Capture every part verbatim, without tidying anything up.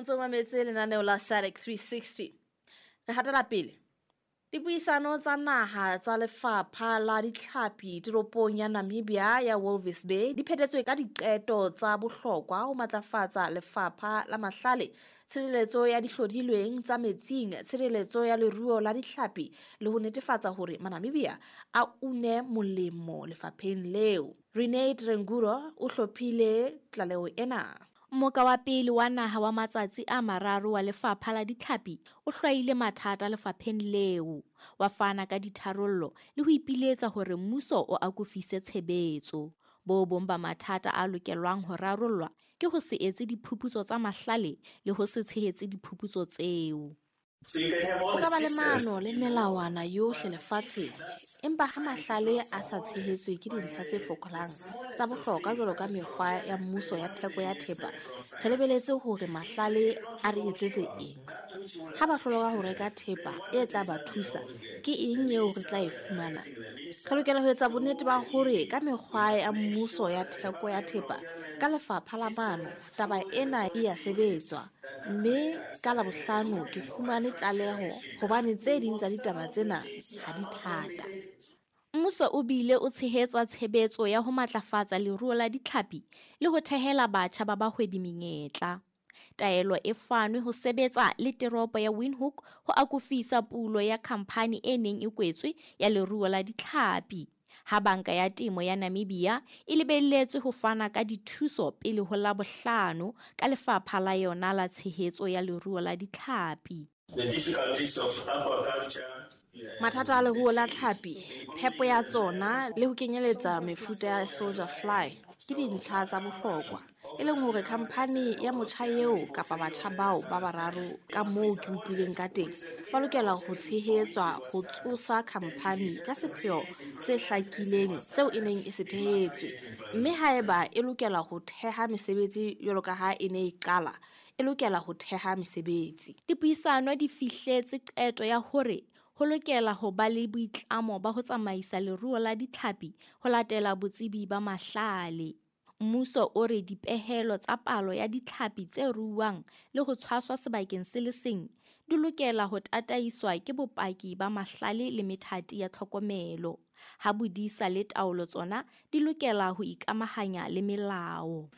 Ntse o mametse lenaneo la SADC three sixty. Re hatela pele. Dipuisano tsa naha tsa lefapha la ditlhapi toropong ya Namibia ya Walvis Bay di phethetswe ka diqeto tsa bohlokwa ho matlafatsa lefapha la mahlale, tshireletso ya dihlodilweng tsa metsing, tshireletso ya leruo la ditlhapi le ho netefatsa hore Manamibia a une molemo lefapheng leo. Renate Renguro o hlophile tlaleho ena. Mmoka wa pele wa naha wa matsatsi a mararo wa lefapha la ditlhapi o hlwaile mathata lefapheng leo, wa fana ka ditharollo le ho ipiletsa hore mmuso o akofise tshebetso. Bo bong ba mathata a lokelwang ho rarollwa ke ho se etse diphuputso tsa mahlale le ho se tshehetse diphuputso tseo. Ho ka ba le maano le melawana yohle lefatsheng, empa ha mahlale a sa tshehetswe ke dintlha tse fokolang tsa bohlokwa jwalo ka mekgwa ya mmuso ya theko ya thepa, re lebeletse hore mahlale a re etsetse eng? Ha ba hloleha ho reka thepa e tla ba thusa, ke eng eo re tla e fumana? Re lokela ho etsa bonnete ba hore ka mekgwa ya mmuso ya theko ya thepa ka lefapha la maano, taba ena e a sebetswa, mme ka Labohlano ke fumane tlaleho hobane tse ding tsa ditaba tsena ha di thata. Mmuso o bile o tshehetsa tshebetso ya ho matlafatsa leruo la ditlhapi le ho thehela batjha ba bahwebi menyetla. Taelo e fanwe ho sebetsa le teropo ya Windhoek ho akofisa pulo ya khamphani e neng e kwetswe ya leruo la ditlhapi. Ha Banka ya Temo ya Namibia e lebelletswe ho fana ka dithuso pele ho Labohlano ka lefapha la yona la tshehetso ya leruo la ditlhapi. Mathata a leruo la tlhapi, phepo ya tsona le ho kenyeletsa mefuta ya soldier fly ke dintlha tsa bohlokwa, e leng hore khamphani ya motjha eo kapa batjha bao ba bararo ka moo ke utlwileng ka teng ba lokela ho tshehetswa ho tsosa khamphani ka sepheo se hlakileng seo e neng e se thehetswe, mme haeba e lokela ho theha mesebetsi jwalo ka ha e ne e qala, e lokela ho theha mesebetsi. Dipuisano di fihletse qeto ya hore ho lokela ho ba le boitlamo ba ho tsamaisa leruo la ditlhapi ho latela botsebi ba mahlale. Mmuso o re dipehelo tsa palo ya ditlhapi tse ruuwang le ho tshwaswa sebakeng se le seng di lokela ho tataiswa ke bopaki ba mahlale le methati ya tlhokomelo. Ha bodisa le taolo tsona di lokela ho ikamahanya le melao.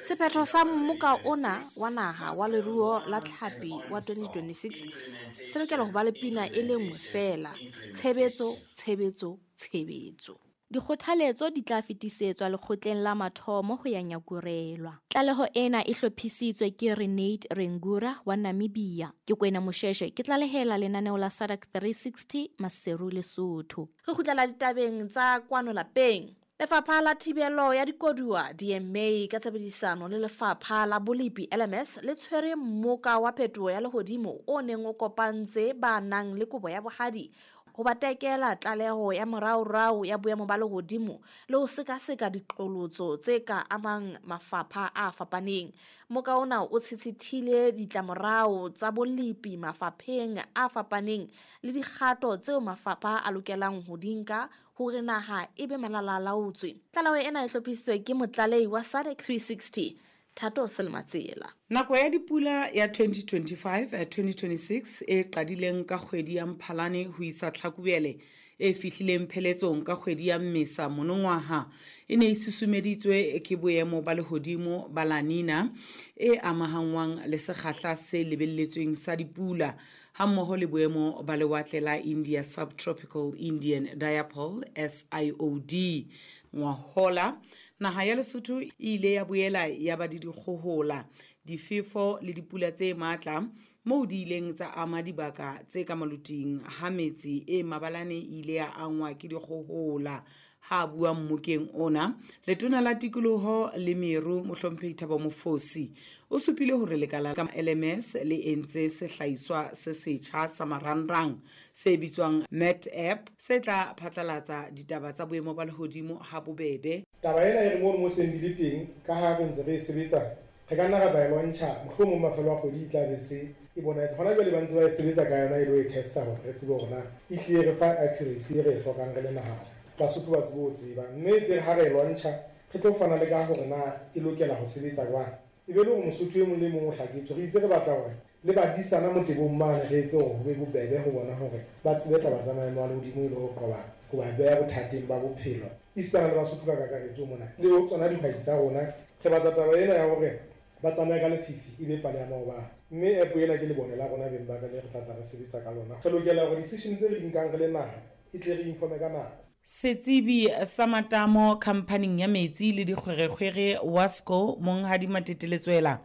Sephetho sa mmoka ona wa naha wa leruo la tlhapi wa twenty twenty-six se lokela ho ba le pina e le nngwe feela: tshebetso, tshebetso, tshebetso. Dikgothaletso di tla fetisetswa lekgotleng la mathomo ho ya nyakurelwa. Tlaleho ena e hlophisitswe ke Renate Rengura wa Namibia. Ke Kwena Mosheshe, ke tlalehela lenaneo la SADC three sixty Maseru, Lesotho. Re kgutlela ditabeng tsa kwano lapeng. Lefapha la Thibelo ya Dikoduwa D M A ka tshebedisano le Lefapha la Bolepi L M S le tshwere mmoka wa phetoho ya lehodimo o neng o kopantse ba nang le kobo ya bohadi ho ba tekela tlaleho ya moraorao ya boemo ba lehodimo le ho sekaseka diqholotso tse ka amang mafapha a fapaneng. Mmoka ona o tshitshithile ditlamorao tsa bolepi mafapheng a fapaneng le dikgato tseo mafapha a lokelang ho di nka hore naha e be malalalaotswe. Tlaleho ena e hlophisitswe ke motlalehi wa SADC three sixty, Thato Selmatsela. Nako ya dipula ya twenty twenty-five twenty twenty-six e qadileng ka kgwedi ya Mphalane ho isa Tlhakubele e fihlileng pheletsong ka kgwedi ya Mmesa monongwaha e ne e susumeditswe ke boemo ba lehodimo ba La Nina e amahanngwang le sekgahla se lebelletsweng sa dipula hammoho le boemo ba lewatle la India Subtropical Indian Dipole S I O D. Ngwahola naha ya Lesotho e ile ya boela ya ba le dikgohola, difefo le dipula tse matla moo di ileng tsa ama dibaka tse ka maluting ha metse e mabalane e ile ya angwa ke dikgohola. Ha bua mmokeng ona, letona la tikoloho le meru Mohlomphehi Thabo Mofosi o supile hore lekala la L M S le entse sehlahiswa se setjha sa marangrang se bitswang Met App se tla phatlalatsa ditaba tsa boemo ba lehodimo ha bobebe. Taba ena e re mono mo seng di le teng ka ha re ntse re e sebetsa, re ka nna ra tla e lwantsha, mohlomong mafelo a kgwedi e tla be se e bonahetse. Hona jwale ba ntse ba e sebetsa ka yona e lo e testa hore re tsebe hore na e hlile re fa accuracy e re e hlokang re le naha. Basotho ba tsebe ho tseba. Mme e tle ha re e lwantsha, re tlo fana le ka hore na e lokela ho sebetsa jwang. E be le hore Mosotho e mong le mong o hlaketswe. Re itse re batla hore le badisana motebong mane re etse hore ho be bobebe ho bona hore ba tsebe taba tsa maemo a lehodimo e le ho qoba ho ba beha bothateng ba bophelo. Esitana le Basotho ka kakaretso mona le ho tsona dihwai tsa rona, re batla taba ena ya hore ba tsamaye ka lefifi e be pale ya maobane. Mme app ena ke lebone la rona beng ba ka le re tla tla re sebetsa ka lona. Re lokela hore decision tse re di nkang re le naha e tle re informe ka nako. Setsebi sa matamo khamphaning ya metsi le dikgwerekgwere WASCO Monghadi Matete Letsoela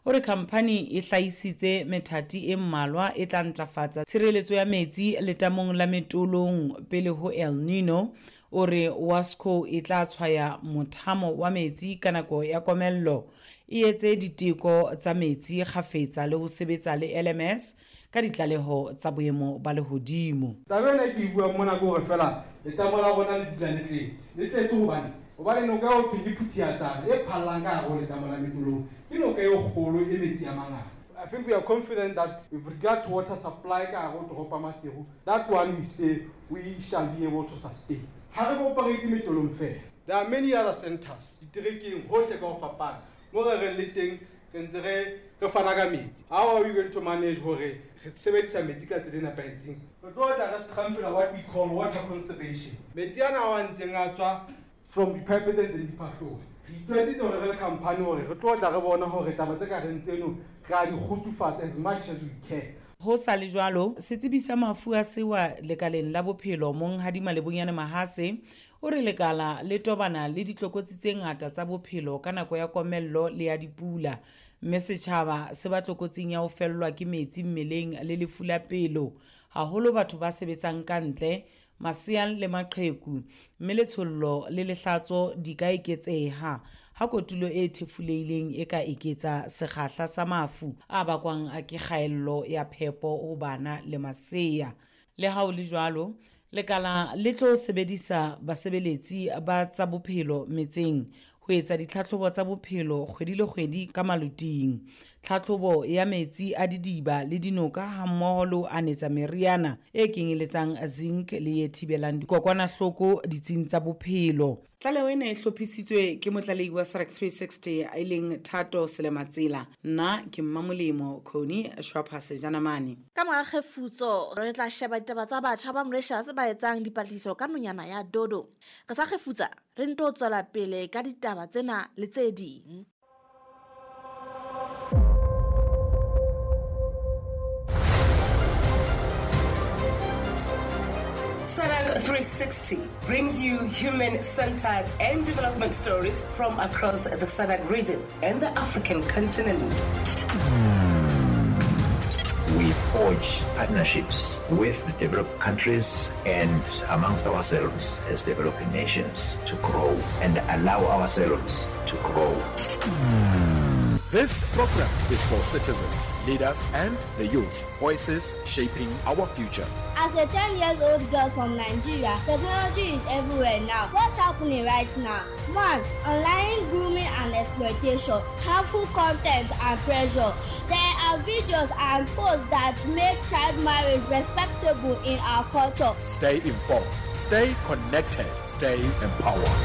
o re khamphani e hlahisitse methati e mmalwa e tla ntlafatsa tshireletso ya metsi letamong la Metolong pele ho El Nino. O re WASCO e tla tshwaya mothamo wa metsi ka nako ya komello, e etse diteko tsa metsi kgafetsa le ho sebetsa le L M S ka ditlaleho tsa boemo ba lehodimo. Taba ena ke e buang mona ke hore feela letamo la rona le dula le tletse. Le tletse hobane hobane noka eo thwe ke Phuthiatsana e phallang ka hare ho letamo la Metolong. Ke noka e kgolo e metsi a mangata. I think we are confident that with regard to water supply ka hare ho toropo ya Maseru, that one we say we shall be able to sustain. Ha re operate Metolong feela. There are many other centers, diterekeng hohle ka ho fapana. Mo re reng le teng re ntse re re fana ka metsi. How are we going to manage hore re sebedisa metsi ka tsela e nepahetseng? Re tlo tla re strengthen what we call water conservation. Metsi ana a ntseng a tswa from dipipe tse ntseng di phahloha. Re itlwaetsitse hore re le company hore re tlo tla re bona hore taba tse ka reng tseno re a di kgutsufatsa as much as we can. Ho sa le jwalo, setsebi sa mafu a sewa lekaleng la bophelo Monghadi Malebonyane Mahase o re lekala le tobana le ditlokotsi tse ngata tsa bophelo ka nako ya komello le ya dipula, mme setjhaba se ba tlokotsing ya ho fellwa ke metsi mmeleng le lefu la pelo, haholo batho ba sebetsang ka ntle, masea le maqheku, mme letshollo le lehlatso di ka eketseha ha kotulo e thefulehileng e ka eketsa sekgahla sa mafu a bakwang ke kgaello ya phepo ho bana le masea. Le ha ho le jwalo, lekala le tlo sebedisa basebeletsi ba tsa bophelo metseng ho etsa ditlhatlhobo tsa bophelo kgwedi le kgwedi ka maloting, tlhatlhobo ya metsi a didiba le dinoka hammoho le ho anetsa meriana e kenyeletsang zinc le e thibelang dikokwanahloko ditsing tsa bophelo. Tlaleho ena e hlophisitswe ke motlalehi wa S A D C three sixty e leng Thato Selematsela. Nna ke Mmamolemo Khoni Shwaphase Janamane. Ka mora kgefutso re tla sheba ditaba tsa batjha ba Mauritius ba etsang dipatlisiso ka nonyana ya dodo. Re sa kgefutsa re nto tswela pele ka ditaba tsena le tse ding. S A D C three sixty brings you human-centered and development stories from across the S A D C region and the African continent. We forge partnerships with developed countries and amongst ourselves as developing nations to grow and allow ourselves to grow. This program is for citizens, leaders, and the youth, voices shaping our future. As a ten years old girl from Nigeria, technology is everywhere now. What's happening right now? One, online grooming and exploitation, harmful content and pressure. There are videos and posts that make child marriage respectable in our culture. Stay informed, stay connected, stay empowered.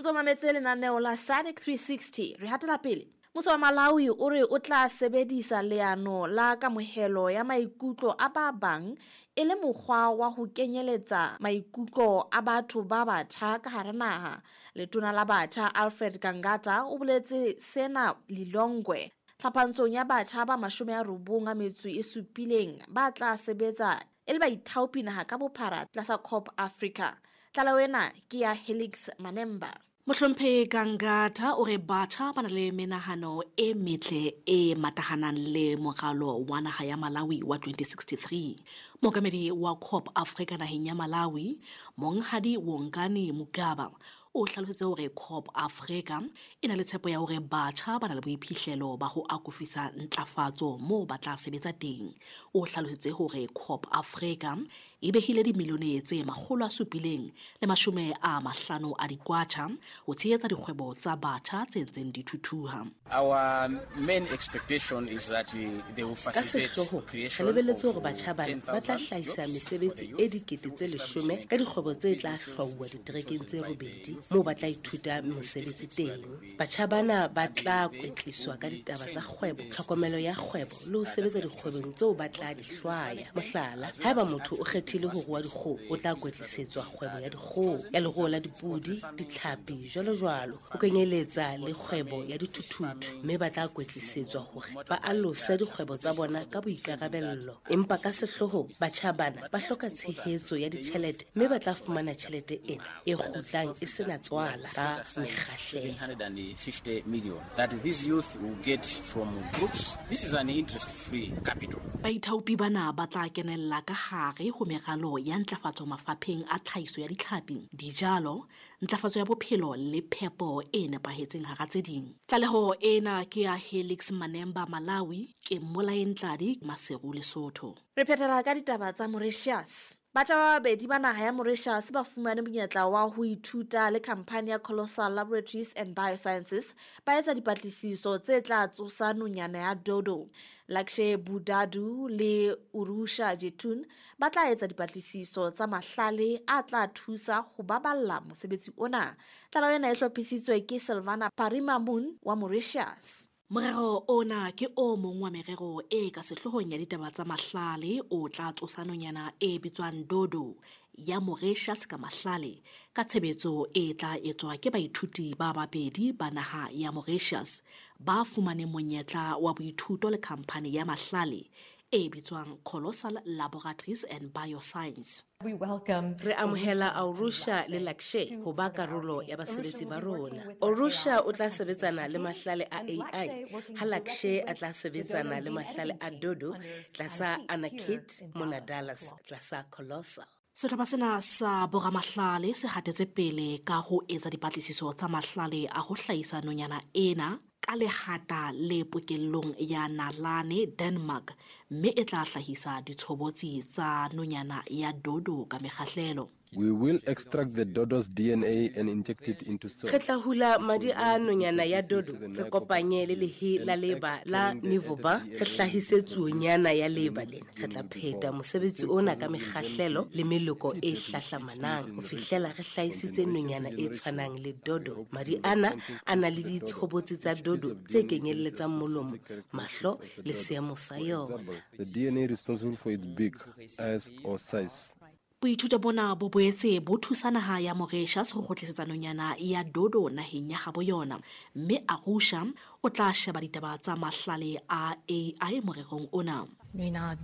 Ntso mametse lenaneo la S A D C three sixty re hatela pele. Mmuso wa Malawi o re o tla sebedisa leano la kamohelo ya maikutlo a ba bang e le mokgwa wa ho kenyeletsa maikutlo a batho ba batjha ka hara naha. Letona la batjha Alfred Gangata o boletse sena Lilongwe tlhapantsong ya batjha ba mashome a robong a metso e supileng ba tla sebetsa e le baithaopi naha ka bophara tlasa COP Africa. Tlaleho ena ke ya Helix Manemba. Mohlomphehi Gangata o re batjha ba na le menahano e metle e matahanang le moralo wa naha ya Malawi wa twenty sixty-three. Mookamedi wa COP Africa naheng ya Malawi, Monghadi Wongani Mugaba, o hlalositse hore COP Africa e na le tshepo ya hore batjha ba na le boiphihlelo ba ho akofisa ntlafatso moo ba tla sebetsa teng. O hlalositse hore COP Africa e behile dimilione tse makgolo a supileng le mashome a mahlano a dikwacha ho tshehetsa dikgwebo tsa batjha tse ntseng di thuthuha. Our main expectation is that they will facilitate creation re lebelletse hore batjha bana ba tla hlahisa mesebetsi e dikete tse leshome ka dikgwebo tse tla hlwauwa diterekeng tse robedi moo ba tla ithuta mosebetsi teng. Batjha bana ba tla kwetliswa ka ditaba tsa kgwebo, tlhokomelo ya kgwebo le ho sebetsa dikgwebong tseo ba tla di hlwaya. Mohlala, haeba motho o kgethile ho rua dikgoho, o tla kwetlisetswa kgwebo ya dikgoho, ya leruo la dipodi, ditlhapi, jwalo jwalo, ho kenyeletsa le kgwebo ya dithuthuthu, mme ba tla kwetlisetswa hore ba alose dikgwebo tsa bona ka boikarabello. Empa ka sehloohong, batjha bana ba hloka tshehetso ya ditjhelete mme ba tla fumana tjhelete ena e kgutlang e sena tswala ka mekgahlelo. seven hundred fifty million that these youth will get from groups. This is an interest-free capital. Baithaopi bana ba tla kenella ka hare ho meralo ya ntlafatso mafapheng a tlhahiso ya ditlhapi, dijalo, ntlafatso ya bophelo le phepo e nepahetseng hara tse ding. Tlaleho ena ke ya Helix Manemba Malawi, ke Mmolae Ntladi Maseru Lesotho. Re phethela ka ditaba tsa Mauritius. Batjha ba babedi ba naha ya Mauritius ba fumane monyetla wa ho ithuta le khamphani ya Colossal Laboratories and Biosciences ba etsa dipatlisiso tse tla tsosa nonyana ya dodo. Lakshe Budadu le Urusha Jetun ba tla etsa dipatlisiso tsa mahlale a tla thusa ho baballa mosebetsi ona. Tlaleho ena e hlophisitswe ke Silvana Parimamun wa Mauritius. Morero ona ke o mong wa merero e ka sehloohong ya ditaba tsa mahlale o tla tsosa nonyana e bitswang dodo ya Mauritius ka mahlale ka tshebetso e tla etswa ke baithuti ba babedi ba naha ya Mauritius ba fumaneng monyetla wa boithuto le khamphani ya mahlale e bitswang Colossal Laboratories and Bioscience. Re amohela Aurusha le Lakshe ho ba karolo ya basebetsi ba rona. Aurusha o tla sebetsana le mahlale a A I, ha Lakshe a tla sebetsana le mahlale a dodo tlasa Anakit mona Dallas tlasa Colossal. Sehlopha sena sa boramahlale se hatetse pele ka ho etsa dipatlisiso tsa mahlale a ho hlahisa nonyana ena ka lehata le pokellong ya Nalane, Denmark, mme e tla hlahisa ditshobotsi tsa nonyana ya dodo ka mekgahlelo. We will extract the dodo's D N A and inject it into cells. Re tla hula madi a nonyana ya dodo, re kopanye le lehe la leba la Nivoba, re hlahise tsuonyana ya leba lena. Re tla pheta mosebetsi ona ka mekgahlelo le meloko e hlahlamanang ho fihlela re hlahisitse nonyana e tshwanang le dodo. Madi ana a na le ditshobotsi tsa dodo tse kenyelletsang molomo, mahlo le seemo sa yona. The D N A responsible for its beak, eyes or size. Boithuto bona bo boetse bo thusa naha ya Mauritius ho kgutlisetsa nonyana ya dodo naheng ya habo yona, mme Arusha o tla sheba ditaba tsa mahlale a A I morerong ona. Re na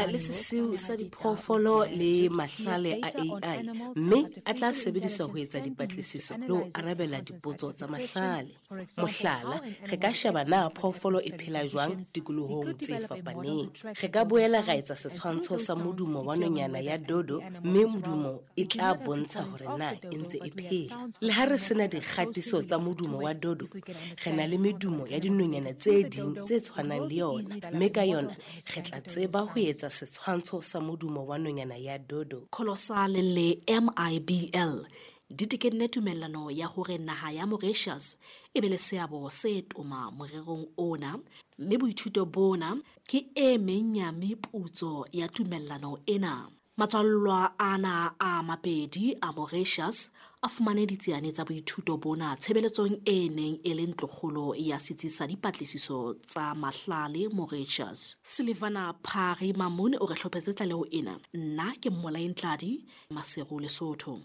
le sesiu sa diphoofolo le mahlale a A I, mme a tla sebediswa ho etsa dipatlisiso le ho arabela dipotso tsa mahlale. Mohlala, re ka sheba na phoofolo e phela jwang tikolohong tse fapaneng. Re ka boela ra etsa setshwantsho sa modumo wa nonyana ya dodo, mme modumo e tla bontsha hore na e ntse e phela. Le ha re sena dikgatiso tsa modumo wa dodo, re na le medumo ya dinonyana tse ding tse tshwanang le yona, mme ka yona re tla tseba ho etsa setshwantsho sa modumo wa nonyana ya dodo. Colossal le M I B L di tekenne tumellano ya hore naha ya Mauritius e be le seabo se toma morerong ona, mme boithuto bona ke e meng ya meputso ya tumellano ena. Matswallwa ana a mabedi a Mauritius a fumane ditsiane tsa boithuto bona tshebeletsong e neng e le ntlokgolo ya setsi sa dipatlisiso tsa mahlale Mauritius. Silvana Phari Mamone o re hlophetse tlaleho ena. Nna ke Mmolae Ntladi, Maseru, Lesotho.